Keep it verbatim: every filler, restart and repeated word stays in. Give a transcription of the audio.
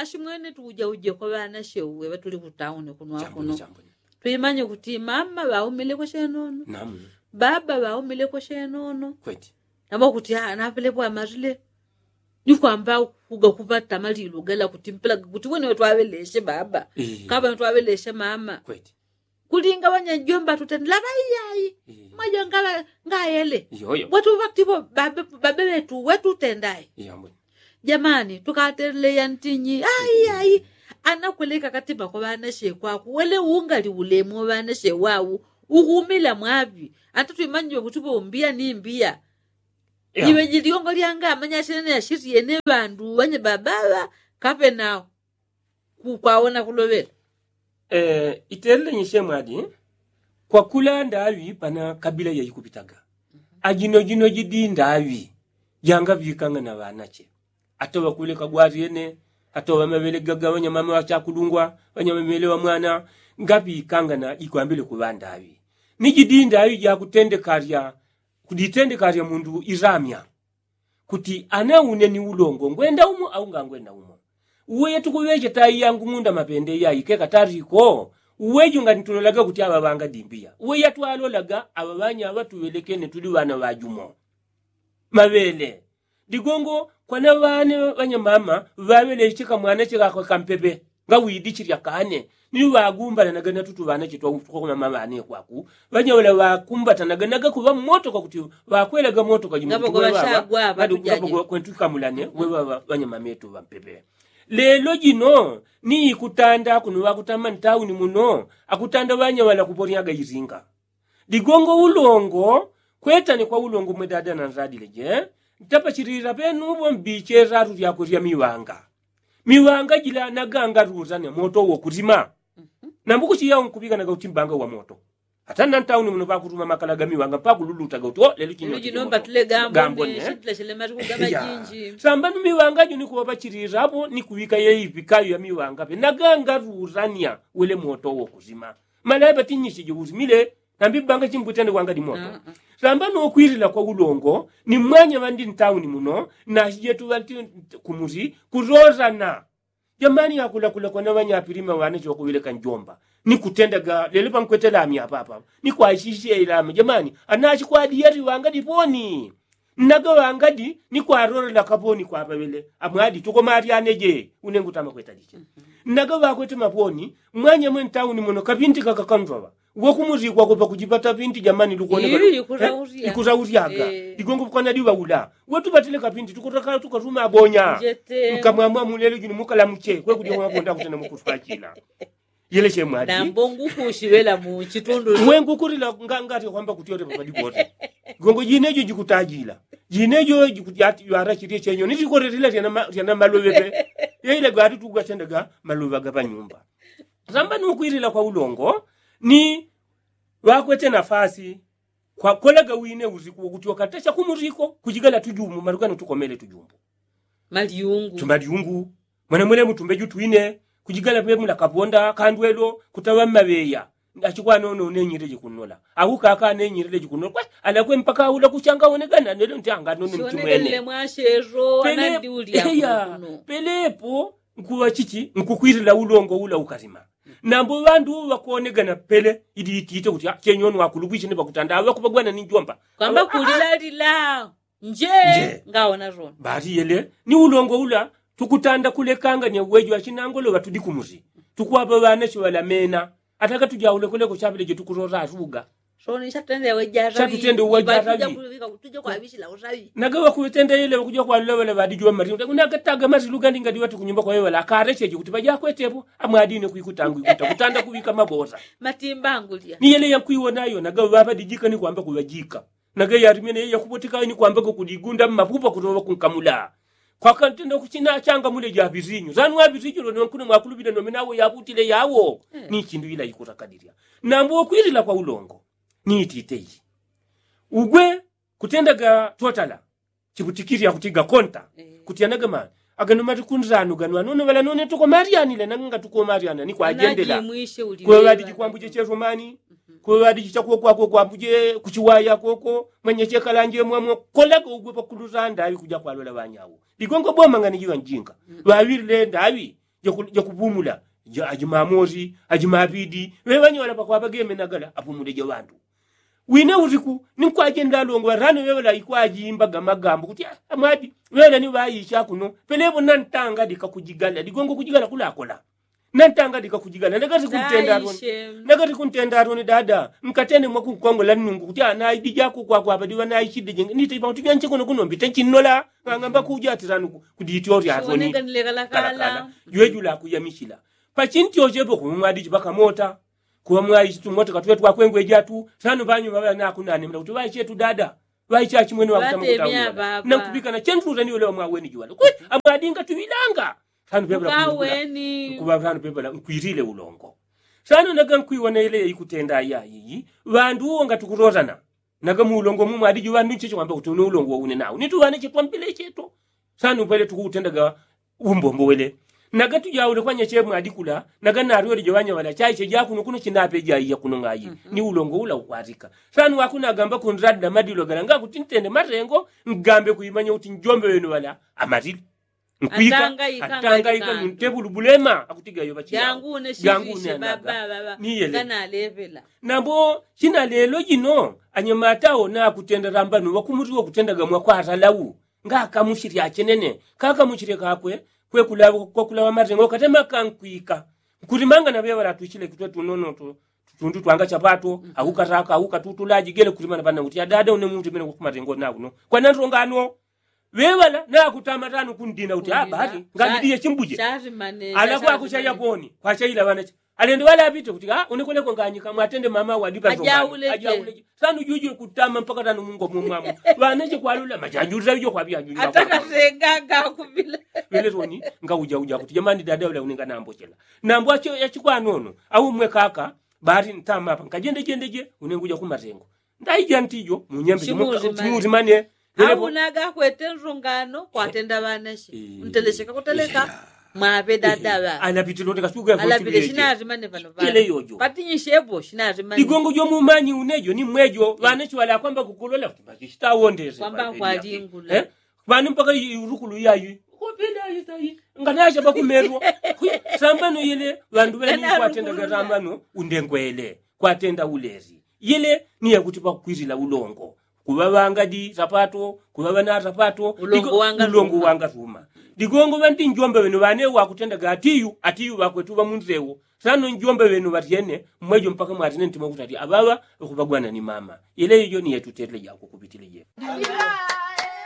Shimwene tuujauje kwa ŵanashe uwe ŵatuli kutauni kuno akuno. Twimanye kuti mama ŵaumileko shenono, baba ŵaumileko shenono. Namba kuti napelepo amarile ni kwamba kuga kupata malilu gala kuti mpela kuti wene ŵatwaŵeleshe baba, kapa ŵatwaŵeleshe mama. Kulinga ŵanyajomba tutendela ŵaiyayi. Mwaja ngayele. Bwatu ŵakutipo babe ŵetu wetutendayi. Jamani tukateleya ntinyi? Aiyayi. Anakweleka katima kwa ŵanashe kwaku wele ungali ulemu wa ŵanashe wau. Ukumila mwaŵi. Ata twimanyiwe kuti ŵombiya ni mbiya. Iŵe jiliongo lyanga amanyashene yashitiyene ŵandu ŵanye babaŵa kapenao. Kwaona kuloŵela. Itelele nyishe mwadi. Kwakula ndaŵi pana kabila yaikupitaga. Ajino jino jidi ndaŵi jangaŵikanga na ŵanache. Atoŵa kuleka gwaryene, atoŵa maŵele gaga ŵanyamama ŵachakulungwa, ŵanyamamele ŵa mwana. Ngaŵikanga na jikwambile kuŵa ndaŵi ni jidi ndaŵi jakutendekarya. Kuditendekarya mundu iramya kuti ana une ni ulongo ngwenda umo au ngangwenda umo. Uwe yetukuŵeche tayi yangu ng'unda mapende yayi keka tariko. Uwe junga nitulolaga kuti aŵa ŵangadimbiya uwe yatwalolaga aŵa ŵanya aŵa tuŵelekene tuli ŵana ŵajumo. Maŵele digongo kwana ŵane ŵanyamama ŵaŵeleche kamwana chekako kampepe. Ngawidichilya kane ni ŵagumbalanaga natutu ŵanache twakukomama ŵane kwaku. Ŵanyaŵala ŵakumbatanaga nagakuŵa mmotoka kuti ŵakwelaga motoka jimutikuweŵaŵa. Kwentukamulane weŵaŵa ŵanyamametu ŵampepe. Lelo jino ni ikutanda kuno ŵakutama ntauni muno akutanda ŵanyaŵala kuponyaga iringa. Ligongo ulongo kwetane kwa ulongo mwe dada na nzadile je. Ntapachilila penupo mbiche latu lyakwe lya miwanga. Miwanga jila naganga luzane moto wo kulima. Nambukuchiya unkupikanaga uti mbanga wa moto. Ata nantauni muno pakuluma makala ga miwanga pakululutaga uti o lelo chino gambone. Sambanu miwanga juni kuwapachilila apo ni kuwika yeipikayo ya miwanga pe naganga luzane wele moto wo kulima. Malaya patinyisije usimile. Nambi banga chimbutane kwanga dimoto. Samba nokwilila kwa ulongo ni mwanya ŵandi ntauni muno. Nasijetu ŵanti kumusi kulozana. Jamani yakulakula kwana ŵanyapilima ŵane chokuŵileka njomba ni kutendaga lelo pankwetela amya papa ni kwashishe ilama jamani. Anachikwadi yati ŵanga diponi. Nnaga ŵangadi ni kwalolela kaponi kwapaŵele amwadi tukomalyane je. Une ngutama kwetaliche nnaga ŵakwete maponi. Mwanya mwe ntauni muno kapinti kaka kanzoŵa wokumuzikwako pakujipata pinti jamani lukoneka. Ikutaulyaga igongo kwanadi ŵaula wetupatile kapinti tukutaka tukatuma abonya. Nkamwamwa mulelo juni mukalamuche kwekudya mwabonda kutena mukuswachila. Yele chemwadi nambo ngukushiŵela mu chitundu. Mwe ngukulila ngati kwamba kuti yote papadi pote. Gongo jinejo jikutajila jinejo jikuti yara chilye chenyo nitikorerila. Lyana maloŵe pe yeile gati tugatendaga maloŵa gapa nyumba. Samba nukwilila kwa ulongo ni ŵakwete nafasi. Kwakolaga wine usiku wokuti wakatasha kumuriko kujigala tujumbu malugano tukomele tujumbu. Malyungu tumalyungu. Mwana mwene mutumbe jutwine kujigala pemula kaponda kandwelo kutaŵa mmaŵeya. Achikwanonone nyirele jikunnola au kaka ne nyirele jikunnola kwe alakwe mpaka aula kuchanga wonegana nelo nti anganone mtumwene. Pelepo nkuŵa chichi nkukwilila ulongo ula ukalima. Nambo ŵandu ŵakonegana pele ili itite kuti chenyoni wakulubwishe ni ŵakutanda aŵa kupagwana ni njomba. Kwamba kulilalila nje ngaona zona. Bati yele ni ulongo ula tukutanda kulekanga ni uwejo achinangolo ŵatudi kumusi. Tukwapa ŵana chiŵalamena ataka tujaule kuleko chapile jetukulola atuga. Soni chatutende uwajaraŵi. Naga ŵakuŵetenda yele ŵakuja kwalula ŵala ŵadijuŵa mari unakataga mari lugandi ngadiŵa tukunyumba kwawe ŵala akarecheje kuti ŵajakwetepo. Amwadine kwikutangu ikuta kutanda kuŵika mabosa. Matimbangulya ni yele yankwiwonayo naga ŵaŵadijika ni kwamba kuŵajika. Nage yalimene ye yakubotekayo ni kwambaga kuligunda mmapupa kutoŵa kunkamula. Kwakantenda kuchina achanga mule ja ŵisinyu sanu wa ŵisinyu lone wankuna mwakulubila nome nawo yabutile yawo. Ni chindu ila ikutakalilya nambu wokwilila kwa ulongo ni itite iyi. Ugwe kutendaga totala chibutikilya kutiga konta. Kutya nagamani agano matikunzanu gano anono ŵala none tukomalyanile nanga ngatukomalyana ni kwajendela. Kuŵe ŵadiji kwambuje chesomani kuŵe ŵadiji chakuwo kwako kwambuje kuchiwaya koko. Mwenye chekalanje mwamwe kolaga ugwe pakuluzanda aŵi kuja kwalola ŵanyawo. Ligongo boma ngani jiŵa njinga ŵaŵilile ndaŵi. jakupumula. Ajimamosi ajimapidi ŵeŵanyola pakwapa gemenagala apumule jaŵandu. Wine usiku ninkwajenda alongo ŵarano ŵeŵala ikwajimbaga magambo kuti amwadi ŵeŵala ni ŵaicha kuno pelepo nantanga dikakujigala digongo kujigala kulakola. Nantanga dikakujigala nagati kuntenda aroni nagati kuntenda aroni dada nkatene mwakunkongola nnungu kuti anaidi jako kwakwapa diŵanaichide jenge nitaipa kuti janche kuno kuno mbite chinnola. Ng'ang'amba kuja ati sanu kudityo oti atoni kalakala. Jwejula kuyamichila pachinti ochepo kuŵa mwadichi pakamota. Kuŵa mwaichi tumotoka tuŵe twakwengweja tu sanu ŵanyuma ŵanakunanemela kuti ŵaichetu dada ŵaichachimwene ŵakutamukutamula. Nankupikana chentu utaniwelewa mwaweni juŵale kwe amwadinga tuŵilanga. Sanu pepela nkuŵa sanu pepela nkwilile ulongo. Sanu naga nkwiwona ile yaikutenda ayaiyi ŵandu uwo ngatukurotana. Naga muulongo mumwadi juŵandu ncheche kwamba kuti une ulongo waune nau nituŵane chetwambile cheto. Sanu pwele tukuutendaga umbombo wele. Naga tujaule kwanyeche mwadikula naga narwele joŵanya ŵala chaiche jakuno kuno chinape jaiya kuno ng'ayi. Ni ulongo ula ukwatika sanu wakunagamba kunradila madilo gala ngakuti ntende matengo ngambe kuimanya kuti njombe wenu ŵala amalile. Nkwika atangaika nuntepu lubulema akutiga yoŵa chiyangu. Niyele nambo china lelo jino anyamata awo nakutenda lambano ŵakumutiwa kutendaga mwakwata lau. Ngakamuchilya achenene kakamuchilye kakwe kwekulaŵa kwakulaŵa matengo katema kankwika. Nkulimanga naŵeŵala atwichile kitwe tunono tutundu twanga chapato aukataka aukatutula ajigele kulimana pana kuti adada une mutimene kumatengo nakuno kwanantonga ano. Ŵeŵala nakutama tanu kundina kuti abati ngamidiye chimbuje. Ala kwakuchaya poni kwachaila ŵanache alende ŵala apite kuti a unekweleko nganyika mwatende mama wadipa ajaule. Sanu juju kutama mpaka tanu mungo mumwamu ŵanache kwalula majajulila ijo kwaŵiajulila. Ŵelesoni ngaujauja kuti jamani dada ŵala unenga nambochela. Nambo acho yachikwanono au mwe kaka bati ntama apa nkajendejendeje unenguja kumatengo. Ndaija ntijo munyembe chimutimane. Aunaga akwete nrungano kwatenda ŵanache ntelecheka kuteleka. Mwaŵe dadaŵa alapitile kuti kasuku alapile shinazimane pano ŵale yojo patinyishepo shinazimane. Ligongo jomumanyi unejo ni mwejo ŵanache ŵale akwamba kukulola kuti bachishitawondese kwamba kwalingula. Ŵanu mpaka urukulu yayi. Nganacha pakumerwa sambano yele ŵandu ŵele ni kwatendaga sambano undengwele kwatenda ulezi. Yele ni yakuti pakukwilila ulongo kuŵaŵanga di sapato kuŵaŵa na sapato. Ulongo wanga suma ligongo ŵandi njombe ŵenu ŵane wakutendaga atiyu atiyu ŵakwetu ŵamunzewo. Sano njombe ŵenu ŵatyene mmwejo mpaka mwatine ntima kuti ati aŵaŵa ŵakuŵagwana ni mama. Yele ijo ni yetutele jako kupitile jeko.